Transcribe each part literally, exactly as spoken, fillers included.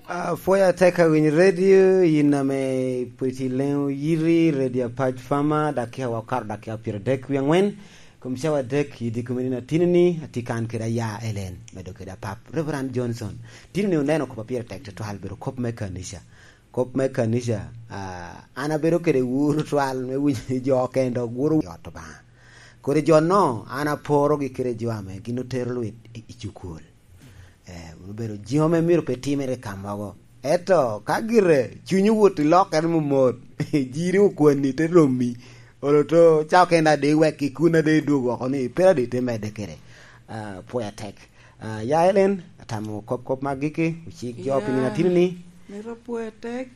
Apwoyo atek awiny redio, yin ame pwod itye i leŋo yiti, redio Apac Fama, dakika wa okato dakika pyeradek wie angwen. Kom cawa adek i dye komiti na tini-ni, atye kan kede aya Elen, medo kede apap, Reverend Johnson. Tini-ni oneno kop a pire tek tutwal, bedo kop me kanica. Kop me kanica, ah, an abedo kede wuro twal me winyo ni jo okene dok wuro i ot Obaŋa. Kodi jo-no, an aporogi kede jo ame gin otero lwit i, i cukul. Eh, wun obedo jiŋo ame myero pe timere i ka mogo. Ento ka gire cuny owot i lokkere momot, jiri okwanni te romi, olo to ca okene ade wek i kun ade idwog oko ni, pe ade te medde kede. Ah, pwoyo atek. Ah, ya Elen, atamo kop kop mag giki, ocik jo pi nino atino ni. Mito pwoyo atek.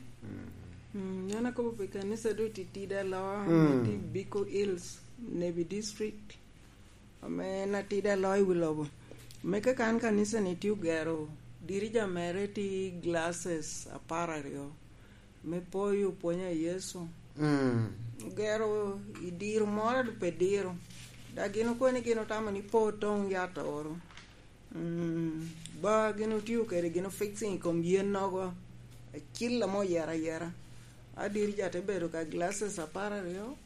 Mm, an akobo pi kanisa do titidi aloa, mm, me tye i Biko Hills, Nebi District. Ame en atidi aloyo i wi lobo. Me kaka an kanisa-ni tye ogero dirija mere tye glasses apar aryo me poyo pwony a Yecu. Mm. Ogero i diro moro a pe diro. Dok gin okwene gin otamo ni po toŋ yat oro. Mm, ba gin otio kede gin fixing i kom yen nogo. Acil ame oyera ayera. A dirija te bedo ka glasses apar aryo.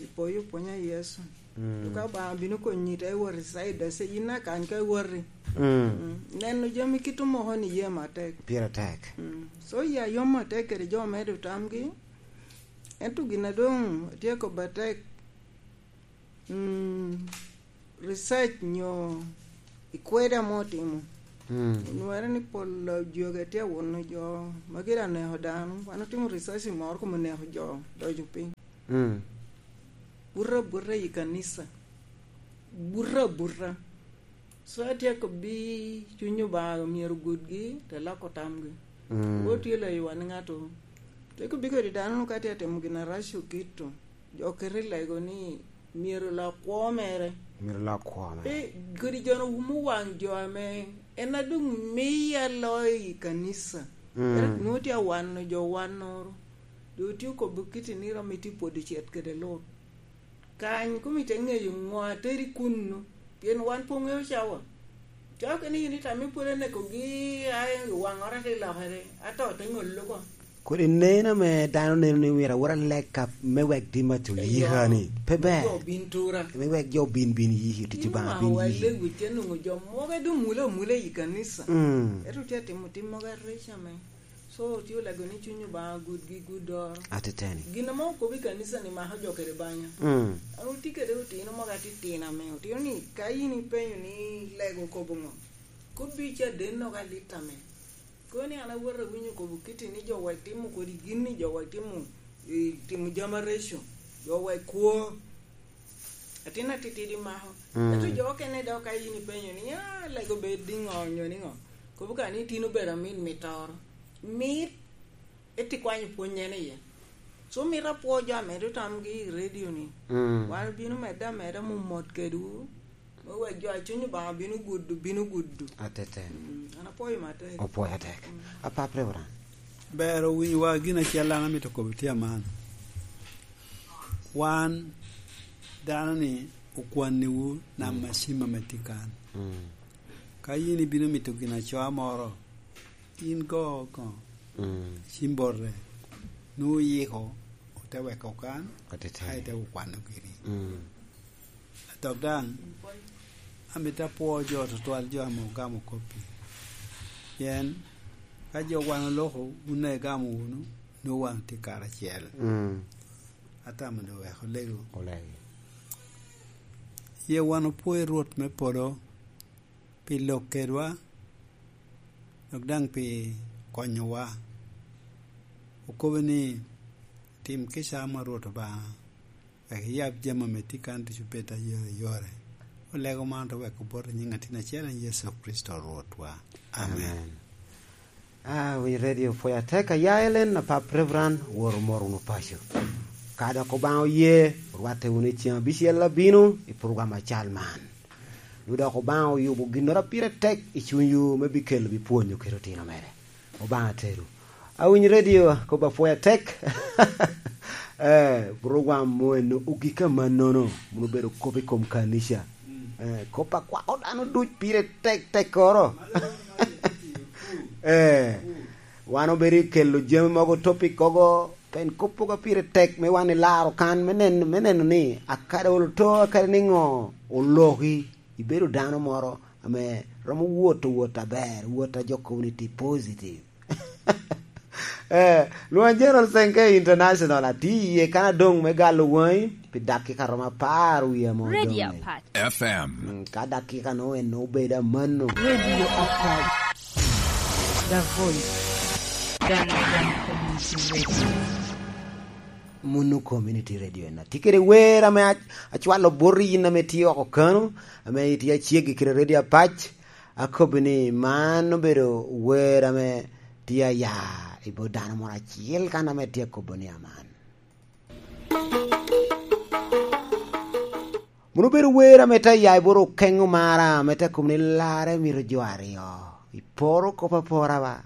Ipoyo pwony a Yecu. Mm. Dok Obaŋa bino konyi te wot i side, ase yin akany ka iwoti. Mm. Mm. Neno jami kit omoko ni yam atek. Pire tek. Mm. So ya yom atek kede jo medo tamgi. Ento gin a doŋ tye kobo atek, mm, research nyo i kwede ame otimo. Mm. Onwere ni pol jogi tye awuno jo ma gire aneko dano. Wan otimo research moro kom oneko jo, doco piny. Mm. Buto abuta i kanisa. Buto abuta. So atyeko bi cuny Obaŋa myero gudgi, te loko tamgi. Mm. Wo tye layo wan ŋato. Tyeko bi kodi dano ka tye atimo gin arac okito. Jo kete i lego ni myero lok kwo mere. Myero lok kwo mere. Pe, kodi jo-nu wumo waŋ jo ame en a doŋ miya loyo i kanisa. Mm. Ento nwoŋo tye awano jo wannoro. Doŋ otye okobo kiti ni rom itye pwodo cet kede Lut. Kany kom ite ŋeyo ŋo ateri kunnu, pien wan pe oŋeo cawa. Cawa kene yin itame pwod anekogi, ae waŋora te lokere, ato te ŋollo ko. Kodi nen ame dano neno ni myero awot alek ka me wek tim aco yika ni, pe ber. Jo bin tura. Me wek jo bin, bin yiki, tic Obaŋa bin yiki. Yin Obaŋa wa lego, itye nwoŋo jo mogo doŋ mule amula i kanisa. Mm. Ento tye atimo tim mogo areca me. So, tye olego ni cuny Obaŋa gudgi guddoro. Ateteni. Gin ame okobo i kanisa ni mako jo kede banya. Mm. An otye kede otino mogo atitino ame otino ni ka yin ipenyo ni lego okobo ŋo, kobbi caden nogo alit ame. Kono ni an awot awinyo okobo kiti ni jo wek timo kodi gin ni jo wek timo, eh, timo jami areco, jo wek kwo. Atin atitidi mako. Mm. Ento jo okene dok ka yin ipenyo ni, "Ah, lego bed niŋo, nyo niŋo?" Kobo ka ni tin obedo amit mitoro. Mit, eti kwanyo pwony en iye. So, mito apwo jo amedo tamgi i redio ni. Mm. Wan obino medde ameda mot mot kedwu. Me wek jo a cuny Obaŋa bino gudo, bino gudo. Atete. Mm, an apwoyo matek. Opwoyo atek. Mm. Apap, Reverend. Ber owinyowa gin acel an amito kobo tye aman. Wan dano ni okwanniwu nam, mm, acim ame tye kan. Mm. Ka yin ibino mito gin acoa moro, in go, go. Mm. Cim bote. Nwoŋo oyiko, ote weko kan, atete, aye te okwano giri. Mm. Dok daŋ, amito apwo jo tutwal jo ame ogamo kop-pi. Pien ka jo wan oloko, wun daŋ igamo wunu, nwoŋo wan otye karacel. Mm. Atamo doŋ wek olego. Olego. Ye wan opwoyo Rwot me polo pi lok kedwa, dok daŋ pi konyowa. Okobo ni, "Tim kica ame Rwot Obaŋa." Wek iyab jami ame tye kan ducu bed ayoreyore. Olego man to wek obot i nyiŋ Atin acel en Yecu Kricito Rwotwa. Amen. Amen. Ah, winyo redio pwod atek aya Elen, apap Reverend, wor omoro wunu paco. Ka dok Obaŋa oye, orwatte wunu i ceng abicel abino i program acal man. Ni dok Obaŋa oyubo ginnoro a pire tek i cunywu me bikelo bi pwonyo kede otino mere. Obaŋa teru. Awinyo redio, kop apwoyo atek. Eh, program mo eno ogik amannono, mono obedo kop i kom kanica. Mm. Eh, kop a kwako dano duc pire tek tekkoro. Malo, malo, malo. Eh, wan obedo i kelo jami mogo, topic kogo, pen kop mogo pire tek me wan ilaro kan me neno, me neno ni akada olo to, akada ni ngo oloki, ibedo dano moro ame romo wot, wot aber, wot a jo community positive. Eh, Luan General Senke International, ati iye kan adong me galo wangi, pi dakika romo apar wie amo Radio dong. Apac. F M. Mm, ka dakika no en obedo amanno. Radio Apac. The Voice. Dano Community Radio. Munu Community Radio en. Ati kede wer ame ac-, acwalo bot yin ame tye oko kano, ame itye aceggi kede Radio Apac. Akobbi ni man obedo wer ame tye aya i bot dano moro acel kan ame tye akobo ni aman. Munu bedo wer ame te ya i bot okeŋo mara, ame te kobo ni larre mito jo aryo. Iporo kop apora ba.